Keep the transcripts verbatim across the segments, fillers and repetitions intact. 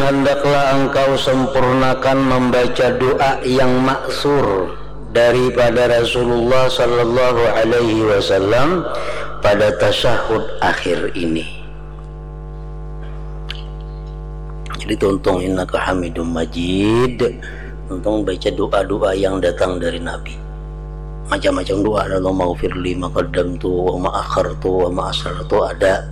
Hendaklah engkau sempurnakan membaca doa yang maksur daripada Rasulullah sallallahu alaihi wasallam pada tasyahud akhir ini. Jadi tuntung innaka hamidum majid, tuntung baca doa-doa yang datang dari Nabi. Macam-macam doa, Allahumma ghfirli ma qaddamtu wa ma akhartu wa ma asrartu, ada.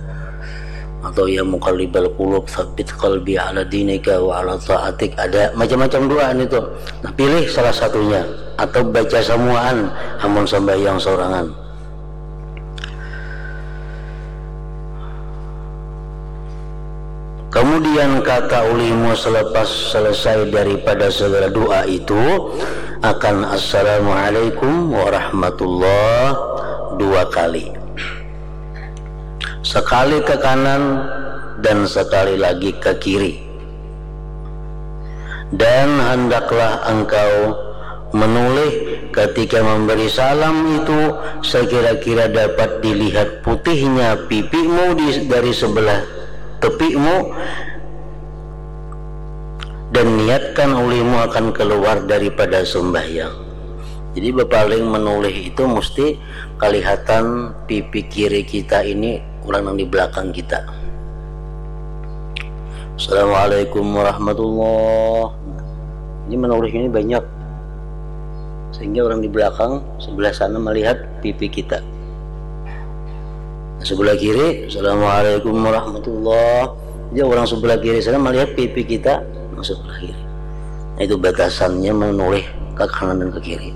Atau ya muqallibal qulub tsabbit qalbi ala dinika wa ala taatik, ada. Macam-macam doa ini tuh. Nah, pilih salah satunya atau baca samuaan amun sambahyang sorangan. Kemudian kata ulihmu selepas selesai daripada segala doa itu akan assalamualaikum warahmatullah dua kali. Sekali ke kanan dan sekali lagi ke kiri. Dan hendaklah engkau menulih ketika memberi salam itu sekira-kira dapat dilihat putihnya pipimu di, dari sebelah tepimu, dan niatkan ulihmu akan keluar daripada sembahyang. Jadi bepaling menulih itu mesti kelihatan pipi kiri kita ini orang yang di belakang kita. Assalamualaikum warahmatullah. Ini menurih ini banyak, sehingga orang di belakang sebelah sana melihat pipi kita. Sebelah kiri, assalamualaikum warahmatullah. Jadi orang sebelah kiri sana melihat pipi kita, nah, sebelah kiri. Nah, itu batasannya menurih ke kanan dan ke kiri.